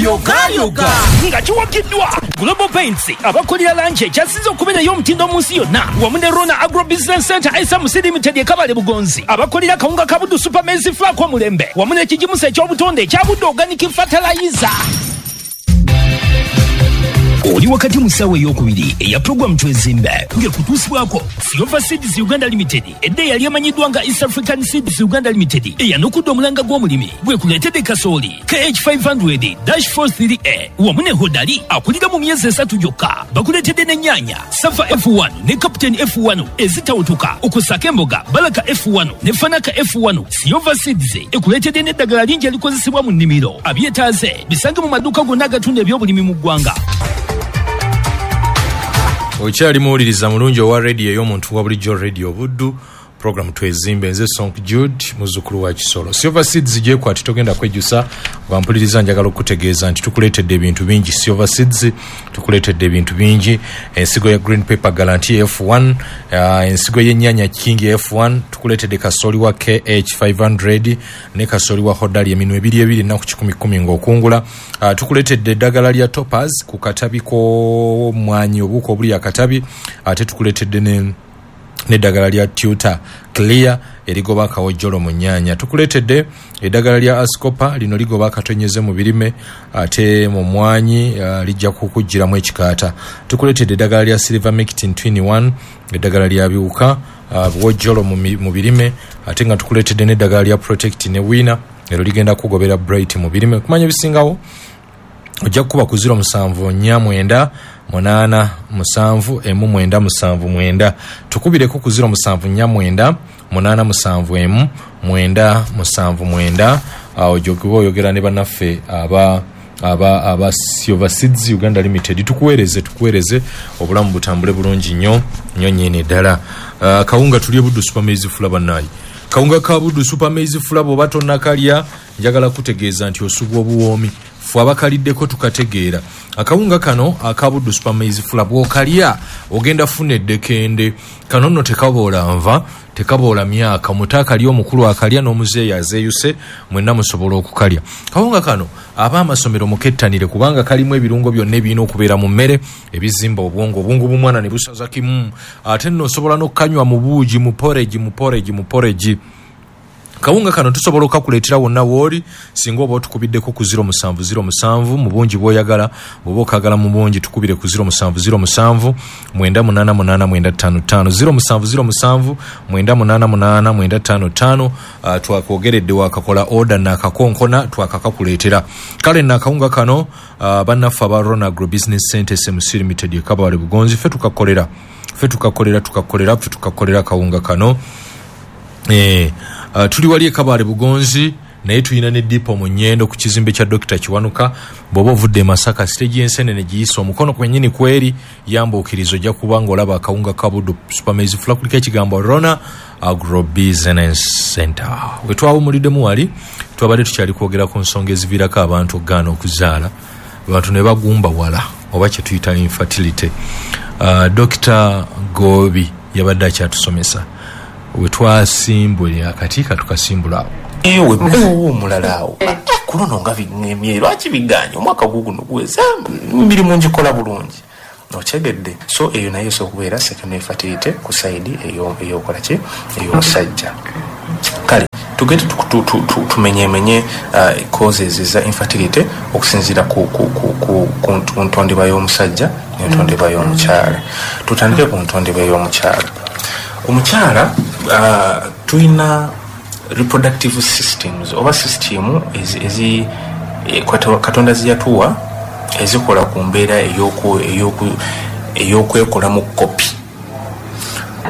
Yogayoga nga kiwagiddwa Global Paints, abakolera langi ekyasinze okubeera ey'omutindo mu nsi yonna, wamu ne Rona Agro Business Center SMC Limited e Kabale Bugonzi, abakolera kawunga ka Buddu Super Maize Flour omulembe, wamu n'ekigimusa eky'obutonde ekya Buddu Organic Fertilizer. Oli wakati mu ssaawa ey'okubiri eya puroguramu Twezimbe, ng'ekutuusibwako Silver Seeds Uganda Limited, edda eyali emanyiddwa nga East African Seeds Uganda Limited, eyanukudde omulanga gw'omulimi gwekuleetedde kasooli KH500 43A wamu ne Hodari akulira mu myezi 3 gyokka. Bakuleetedde n'ennyaanya Safa F1 ne Captain F1 ezitawutuka, okusaka emboga Balaka F1 ne Fanaka F1. Silver Seeds ekuleetedde n'eddagala lingi erikozesebwa mu nnimiro. Abyetaaze bisange mu maduuka gonna agatunda ebyobulimi mu ggwanga. Okyali muwuliriza mulungi owa radio ey'omuntu wa bulijjo, Radio Buddu, program Twezimbe. Nze Sonk Jude, muzzukulu wa Kisolo. Silver Seeds gyekwati, togenda kwejjusa. Bwampuliriza, njagala okutegeeza nti tukuleetedde ebintu bingi. Silver Seeds tukuleetedde ebintu bingi: ensigo ya green pepper Guarantee F1, ensigo y'ennyaanya King F1, tukuleetedde kasooli wa KH500 ne kasooli wa Hodari, eminwe ebiri ebiri, ennaku 110 ng'okungula. Tukuleetedde eddagala lya Toppers ku katabi k'omwanyi, obuuka obuli akatabi. Ate tukuleetedde n'eddagala lya Tutor Clear erigoba akawojjolo mu nnyaanya. Tukuleetedde eddagala lya Ascopa, lino ligoba akatonyeze mu birime, ate mu mwanyi lijja kukugiramu ekikaata. Tukuleetedde eddagala lya Silvermectin 21, eddagala lya biwuka, buwojjolo mu birime. Ate nga tukuleetedde n'eddagala lya Protect ne Wina, ero ligenda kugobera blight mu birime. Okumanya ebisingawo ojja kukuba ku 0749 87 1979. Tukubireko ku 0749 871 979. Awo gyokuba oyogera ne bannaffe aba Silver Seeds Uganda Limited. Tukuweereze, tukuweereze, obulamu butambule bulungi nnyo nnyo nnyini ddala. Kawunga tulye Buddu Super Maize Flour. Bannaayi, kawunga ka Buddu Super Maize Flour bw'oba tonnakalya, njagala kutegeeza nti osubwa obuwoomi. Ffe abakaliddeko tukategeera. Akawunga kano aka Buddu Super Maize Flour bw'okalya ogenda funa eddekende. Kano nno tekaboola nva, tekaboola myaka. Omuto akalya, omukulu akalya, n'omuzeeyi azeeyuse, mwenna musobola okukalya. Kawunga kano ab'amasomero mukettanire, kubanga kalimu ebirungo byonna ebirina okubeera mu mmere ebizimba obwongo, obwongo bw'omwana ne busaza kimu. Ate nno osobola n'okukanywa mu buugi, mu porridge, mu porridge, mu porridge. Kawunga kano tusobola okakuleetera wonna wooli singa oba otukubiddeko ku 0707 mu bungi bw'oyagala. Bw'oba okagala mu bungi, tukubire ku 0707 988 955, 0707 988 955. Twakwogeredde, wakakola order nakakonkona, twakakakuleetera. Kale nakawunga kano, bannaffe aba Rona Agro Business Center SMC Limited e Kabale Bugonzi, ffe tukakolera, ffe tukakolera, tukakolera, ffe tukakolera kawunga kano. Tuli wali e Kabale Bugonzi, naye tulina ne depot mu Nyendo ku kizimbe kya Dr Kiwanuka. Bw'oba ovudde e Masaka, siteegi y'ensenene giyise omukono kwennyini kweri yambuukiriza, ojja kuba ng'olaba akawunga ka Buddu Super Maize Flour, kuliko ekigambo Rona Agro Business Center. We twawumuliddemu wali twabadde tukyali kwogera ku nsonga eziviirako abantu okugaana okuzaala, abantu ne bagumba wala, oba kye tuyita infertility. Dr Goobi yabadde akyatusomesa we twasimbule akati katukasimbula awo. Ewe owo omulala awo ku luno nga biŋŋemye, lwaki biganye? Omwaka guguno guweze, emirimu ngikola bulungi, okyegedde? So eyo naye esobola okubeera secondary infertility ku side eyokola ki, ey'omusajja. Kale tugende tumenyemenye causes eza infertility okusinziira ku ntondebwa y'omusajja n'entondebwa y'omukyala. Tutandike ku ntondebwa y'omukyala. Omukyala, tulina reproductive systems oba system ezi Katonda ziyatuwa ezikola ku mbeera ey'okwekolamu kopi,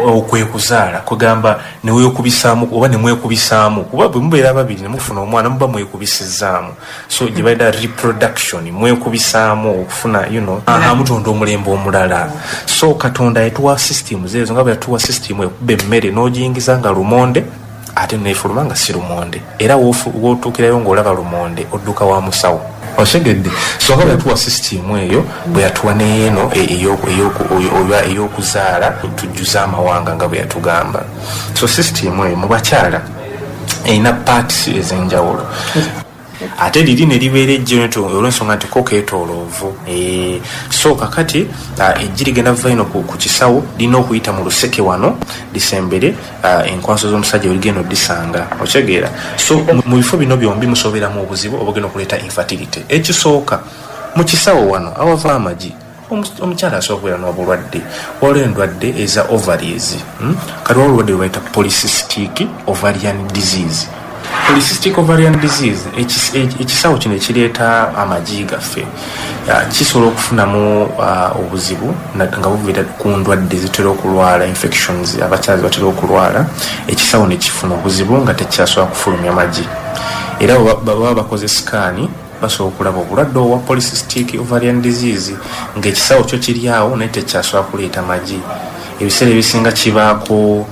okwekuzaala, kugamba newekubisaamu oba nemwekubisaamu, kuba bwe mubeera babiri nemufuna omwana muba mwekubisizaamu. So gye bayita reproduction, mwekubisaamu okufuna mutonda omulembe omulala. So Katonda yatuwa systems ezo, nga bwe yatuwa system ekuba emmere n'ogiyingiza nga lumonde, ate nefuluma nga si lumonde, era w'otuukirayo ng'olaba lumonde odduka wa musawo, otegedde? So nga bwe yatuwa system eyo, bwe yatuwa neeno ey'okuzaala tujjuze amawanga nga bwe yatugamba. So system eyo mu bakyala erina parts ez'enjawulo. Ate liri ne libeera eggi olw'ensonga nti ko keetooloovu. So kakati eggi ligenda kuva ino ku kisawo, lirina okuyita mu luseke wano lisembere enkwanso z'omusajja weligenda oddisanga. Okitegeera? So mu bifo bino byombi musooberamu obuzibu obugenda okuleeta infertility. Ekisooka, mu kisawo wano awava amagi, omukyala asobola okubeera n'obulwadde. Waliwo endwadde eza ovaries. Kati waliwo obulwadde bwe bayita polycystic ovarian disease. Polycystic ovarian disease, ekisawo kino ekireeta amagi gaffe kisobola okufunamu obuzibu nga buviira ku ndwadde zitera okulwala, infections abakyala batera okulwala, ekisawo ne kifuna obuzibu nga tekyasobola kufulumya magi. Era baba bakoze sikaani, basobola okulaba obulwadde obwa polycystic ovarian disease, ng'ekisawo kyo kiri awo naye tekyasobola kuleeta magi. Ebiseera ebisinga kibaako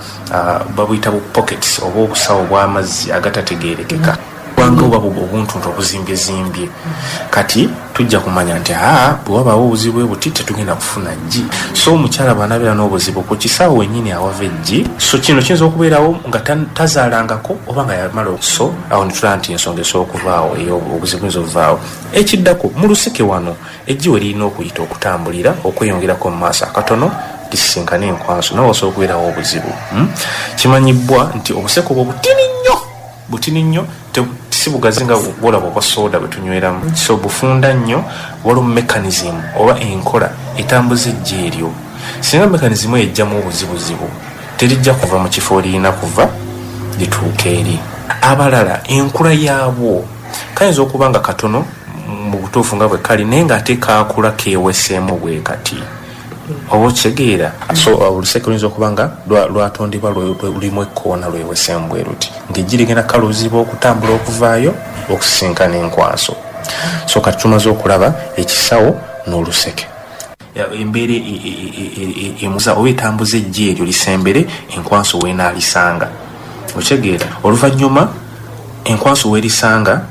babuyita bu pockets oba obusawo bw'amazzi agatategeerekeka, kubanga oba obuntuntu obuzimbyezimbye. Kati tujja kumanya nti bwe wabaawo obuzibu buti tetugenda kufuna ggi. So omukyala bw'anaabeera n'obuzibu ku kisawo wennyini awava eggi, so kino kiyinza okubeerawo nga tazaalangako oba nga yamala. So awo netulaba nti ensonga esobola okuvaawo, obuzibu buyinza okuvaawo. Ekiddako, mu luseke wano eggi we lirina okuyita okutambulira okweyongerako mu maaso akatono lisisinkane enkwanso, nawe wasobola okubeerawo obuzibu. Kimanyibwa nti obuseke obwo butini nnyo, butini nnyo, si bugazi nga bwolaba obwa soda bwe tunyweramu. So bufunda nnyo. Waliwo mechanism oba enkola etambuza eggi eryo. Singa mechanism eyo ejjamu obuzibuzibu, terijja kuva mu kifo lirina kuva lituuka eri. Abalala, enkula yaabwo kayinza okuba nga katono mu butuufu nga bwe kali, naye ng'ate kaakula keeweseemu bwe kati, oba okitegeera? So oluseke luyinza okuba nga lwatondebwa lulimu ekkoona lweweseemu bwe luti, ng'eggi ligenda kaluziba okutambula okuvaayo okusisinkana enkwanso. So kati tumaze okulaba ekisawo n'oluseke. Embeera emuza oba etambuza eggi eryo lisembere enkwanso weenaalisanga. Okitegeera? Oluvannyuma enkwanso weerisanga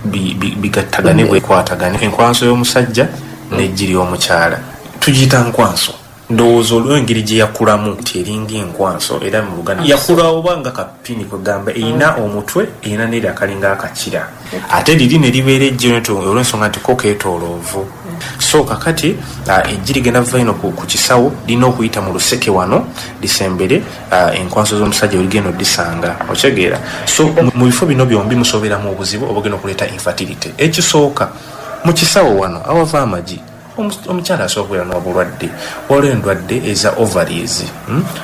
bigattagane, bwekwatagane, enkwanso y'omusajja n'eggi ly'omukyala. Tugiyita nkwanso, ndowooza olw'engeri gye yakulamu nti eringa enkwanso. Era mu Luganda yakula oba nga kapini, kwegamba erina omutwe, erina neri akalinga akakira. Ate liri ne libeera eggi olw'ensonga nti ko keetooloovu. So kakati eggi ligenda kuva ino ku kisawo, lirina okuyita mu luseke wano lisembere enkwanso z'omusajja weligenda oddisanga. Okitegeera? So mu bifo bino byombi musooberamu obuzibu obugenda okuleeta infertility. Ekisooka, mu kisawo wano awava amagi, omukyala asobola okubeera n'obulwadde. Waliwo endwadde eza ovaries.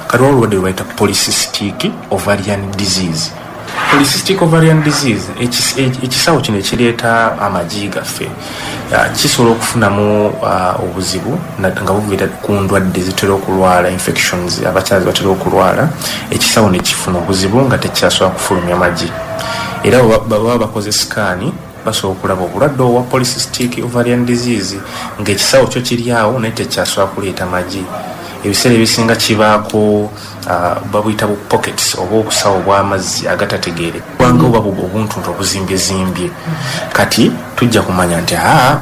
Kati waliwo obulwadde bwe bayita polycystic ovarian disease. Polycystic ovarian disease, ekisawo kino ekireeta amagi gaffe kisobola okufunamu obuzibu nga buviira ku ndwadde zitera okulwala, infections abakyala batera okulwala, ekisawo ne kifuna obuzibu nga tekyasobola kufulumya magi. Era baba bakoze sikaani, basobola okulaba obulwadde obwa polycystic ovarian disease, ng'ekisawo kyo kiri awo naye tekyasobola kuleeta magi. Ebiseera ebisinga kibaako babuyita bu pockets oba obusawo bw'amazzi agatategeere, kubanga oba obuntuntu obuzimbyezimbye. Kati tujja kumanya nti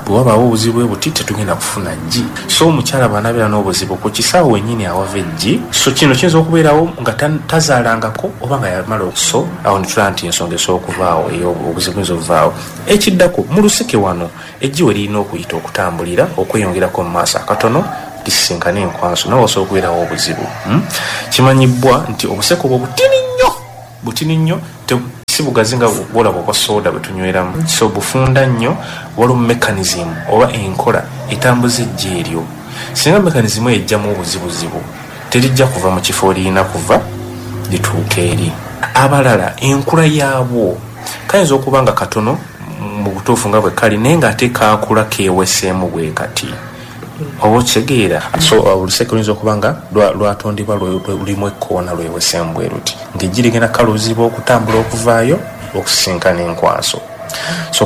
bwe wabaawo obuzibu buti tetugenda kufuna ggi. So omukyala bw'anaabeera n'obuzibu ku kisawo wennyini awava eggi, so kino kiyinza okubeerawo nga tazaalangako oba nga yamala. So awo netulaba nti ensonga esobola okuvaawo, obuzibu buyinza okuvaawo. Ekiddako, mu luseke wano eggi we lirina okuyita okutambulira okweyongerako mu maaso akatono lisisinkane enkwanso, nawe wasobola okubeerawo obuzibu. Kimanyibwa nti obuseke obwo butini nnyo, butini nnyo, si bugazi nga bwolaba obwa soda bwe tunyweramu. So bufunda nnyo. Waliwo mechanism oba enkola etambuza eggi eryo. Singa mechanism eyo ejjamu obuzibuzibu, terijja kuva mu kifo lirina kuva lituuka eri. Abalala, enkula yaabwo kayinza okuba nga katono mu butuufu nga bwe kali, naye ng'ate kaakula keeweseemu bwe kati, oba okitegeera? So oluseke luyinza okuba nga lwatondebwa lulimu ekkoona lweweseemu bwe luti, ng'eggi ligenda kaluziba okutambula okuvaayo okusisinkana enkwanso. So